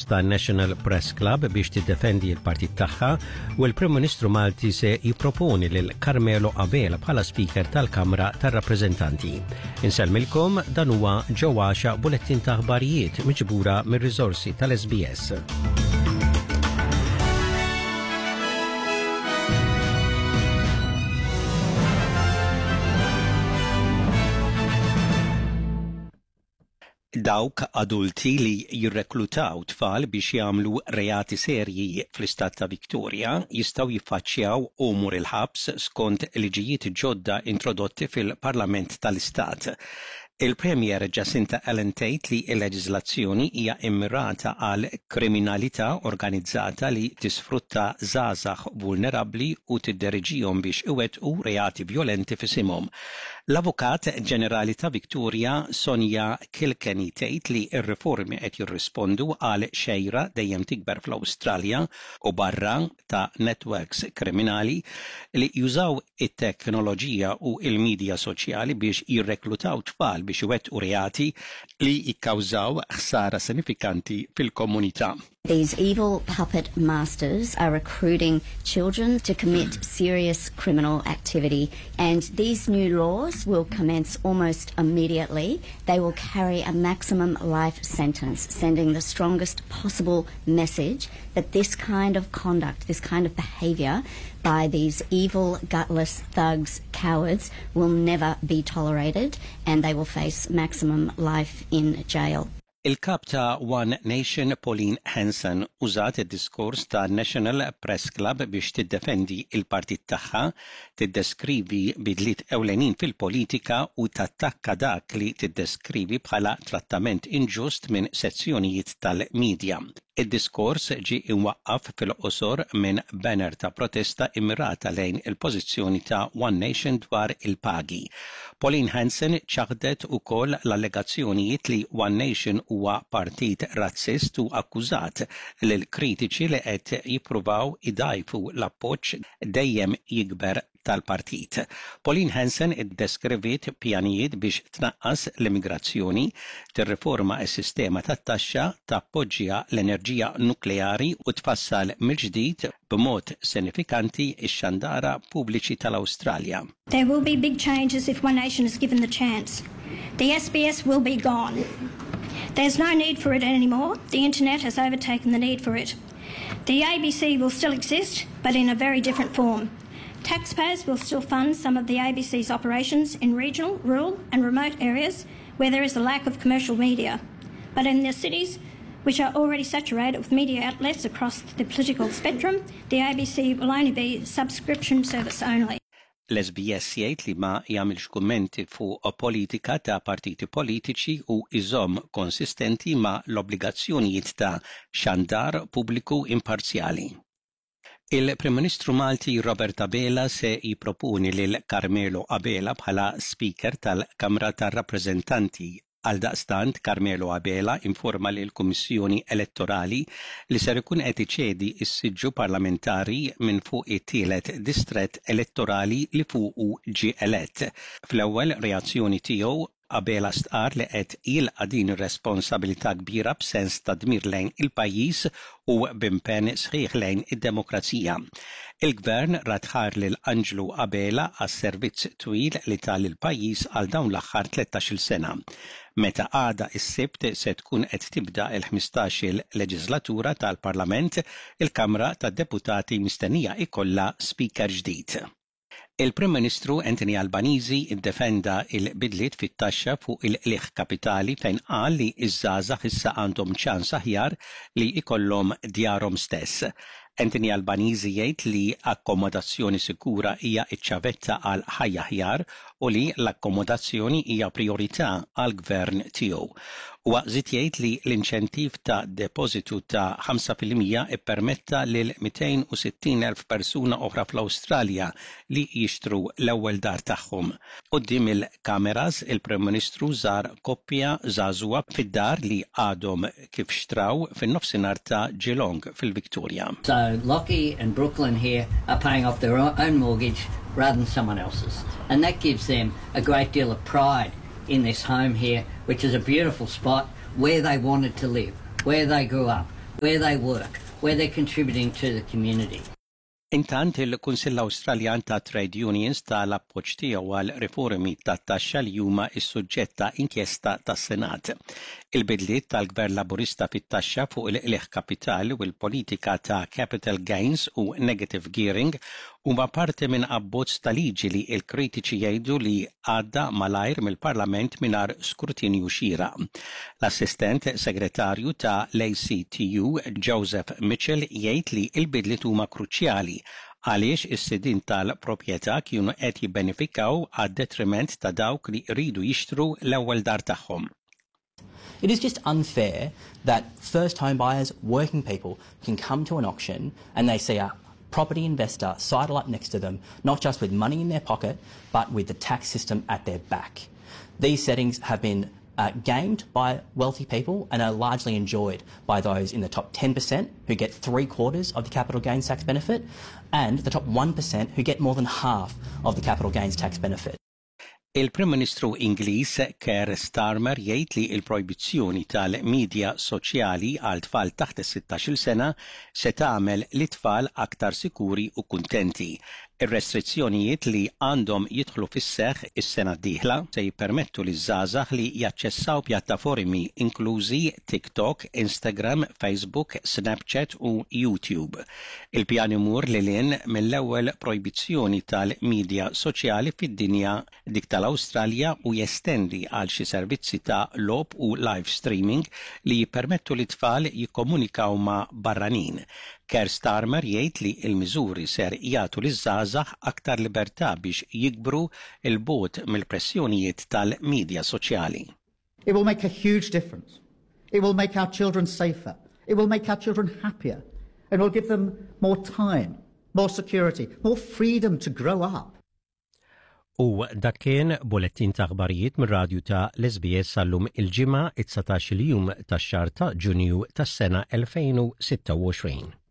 tan-National Press Club biex tiddefendi l-partit tagħha u l-Prim Ministru Malti se jipproponi lil Carmelo Abela bħala Speaker tal-Kamra tar-Rappreżentanti. Insellmilkom dan huwa ġewwaxa bulettin ta' aħbarijiet miġbura mir-riżorsi tal-SBS. Dawk adulti li jirreklutaw tfal biex jagħmlu reati serji fl-istat ta' Victoria jistgħu jiffaċċjaw għomor il-ħabs skont liġijiet ġodda introdotti fil-Parlament tal-Istat. Il-Premier Jacinta Allan tgħid li l-leġiżlazzjoni hija mmirata għal kriminalità organizzata li tisfrutta żgħażagħ vulnerabbli u tidderiġihom biex iwettqu reati vjolenti f'isimhom. L-Avukat Ġenerali ta' Victoria, Sonia Kilkenny tgħid li r-riformi qed jirrispondu għal xejra dejjem tikber fl-Awstralja u barra ta' networks kriminali li jużaw it-teknoloġija u l-midja soċjali biex jirreklutaw tfal biex iwettqu reati li jikkawżaw ħsara sinifikanti fil-komunità. These evil puppet masters are recruiting children to commit serious criminal activity and these new laws will commence almost immediately. They will carry a maximum life sentence, sending the strongest possible message that this kind of conduct, this kind of behavior by these evil, gutless thugs, cowards, will never be tolerated and they will face maximum life in jail. Il-Kap ta' One Nation Pauline Hanson użat id-diskors ta' National Press Club biex tiddefendi l-partit tagħha, tiddeskrivi bidliet ewlenin fil-politika u tattakka dak li tiddeskrivi bħala trattament inġust minn sezzjonijiet tal-midja. Id-diskors ġie imwaqqaf fil-qosor minn banner ta' protesta immirata lejn il-pożizzjoni ta' One Nation dwar il-pagi. Pauline Hanson ċaħdet ukoll l-allegazzjonijiet li One Nation huwa partit razzist u akkużat lill-kritiċi li qed jippruvaw idgħajfu l-appoġġ dejjem jikber tal-partit. Pauline Hanson iddeskriviet pjanijiet biex tnaqqas l-immigrazzjoni, tirriforma s-sistema tat-taxxa, tappoġġja l-enerġija nukleari u tfassal mill-ġdid b'mod sinifikanti x-xandara pubbliċi tal-Awstralja. There will be big changes if One Nation is given the chance. The SBS will be gone. There's no need for it anymore. The internet has overtaken the need for it. The ABC will still exist, but in a very different form. Taxpayers will still fund some of the ABC's operations in regional, rural and remote areas where there is a lack of commercial media. But in the cities, which are already saturated with media outlets across the political spectrum, the ABC will only be subscription service only. L-SBS jgħid li ma jagħmilx kummenti fuq politika ta' partiti politiċi u jżomm konsistenti ma' l-obbligazzjonijiet ta' xandar pubbliku imparzjali. Il-Prim Ministru Malti Robert Abela se jipproponi lil Carmelo Abela bħala Speaker tal-Kamra tar-Rappreżentanti. Għaldaqstant, Carmelo Abela informa lill-Kummissjoni Elettorali li ser ikun qed iċedi s-siġġu parlamentari minn fuq it-tielet distrett elettorali li fuqu ġie elett. Fl-ewwel reazzjoni tiegħu, Abela stqarr li qed jilqa' din ir-responsabilità kbira b'sens ta' dmir lejn il-pajjiż u b'impenn sħiħ lejn id-demokrazija. Il-Gvern radd ħajr lil Anġlu Abela għas-servizz twil li ta lill-pajjiż għal dawn l-aħħar 13-il sena. Meta għada s-Sibt se tkun qed tibda l-ħmistax-il leġiżlatura tal-Parlament, il-Kamra tad-Deputati mistennija jkollha Speaker ġdid. Il-Prim Ministru Anthony Albanese ddefenda l-bidliet fit-taxxa fuq il-qligħ kapitali fejn qal li ż-żgħażagħ issa għandhom ċans aħjar li jkollhom djarhom stess. Anthony Albanese jgħid li akkomodazzjoni sikura hija ċ-ċavetta għal ħajja aħjar u li l-akkomodazzjoni hija prijorità għall-Gvern tiegħu. Huwa żied jgħid li l-inċentiv ta' depożitu ta' 5% ippermetta lil 260,000 persuna oħra fl-Awstralja li jixtru l-ewwel dar tagħhom. Quddiem il-kameras, il-Prim Ministru żar koppja żagħżugħa fid-dar li għadhom kif xtraw fin-nofsinhar ta' Geelong fil-Victoria. So Lockie and Brooklyn here are paying off their own mortgage rather than someone else's and that gives them a great deal of pride in this home here, which is a beautiful spot where they wanted to live, where they grew up, where they work, where they're contributing to the community. Intant, il-Kunsill Awstraljan ta' Trade Unions ta l-appoġġ tiegħu għal riformi tat-taxxa li huma s-suġġett ta' inkjesta tas-Senat. Il-bidliet tal-Gvern Laburista fit-taxxa fuq il-qligħ kapitali u l-politika ta' capital gains u negative gearing huma parti minn abbozz ta' liġi li l-kritiċi jgħidu li għadda malajr mill-Parlament mingħajr skrutinju xieraq. L-Assistent Segretarju ta' l-ACTU, Joseph Mitchell jgħid li l-bidliet huma kruċjali għaliex is-sidien tal-proprjetà kienu qed jibbenefikaw għad-detriment ta' dawk li jridu jixtru l-ewwel dar tagħhom. It is just unfair that first home buyers, working people, can come to an auction and they see a property investor sidle up next to them, not just with money in their pocket, but with the tax system at their back. These settings have been uh, gamed by wealthy people and are largely enjoyed by those in the top 10% who get 3/4 of the capital gains tax benefit and the top 1% who get more than half of the capital gains tax benefit. Il-Prim Ministru Ingliż Keir Starmer jgħid li l-projbizzjoni tal-midja soċjali għal tfal taħt is-sittax-il sena se tagħmel lit-tfal aktar sikuri u kuntenti. Ir-restrizzjonijiet li għandhom jidħlu fis-seħħ is-sena d-dieħla se jippermettu liż-żgħażagħ li jaċċessaw pjattaformi inklużi TikTok, Instagram, Facebook, Snapchat u YouTube. Il-pjan imur lil hinn mill-ewwel projbizzjoni tal-midja soċjali fid-dinja, dik tal-Awstralja, u jestendi għal xi servizzi ta' logħob u live streaming li jippermettu lit-tfal jikkomunikaw ma' barranin. Keir Starmer jgħid li l-miżuri ser jagħtu liż-żgħażagħ aktar libertà biex jikbru 'l bogħod mill-pressjonijiet tal-midja soċjali. It will make a huge difference. It will make our children safer. It will make our children happier. And will give them more time, more security, more freedom to grow up. U dak kien bulettin ta' aħbarijiet mir-radju ta' l-SBS għallum il-Ġimgħa it-19 il-jum tax-xahar ta' Ġunju tas-sena 2026.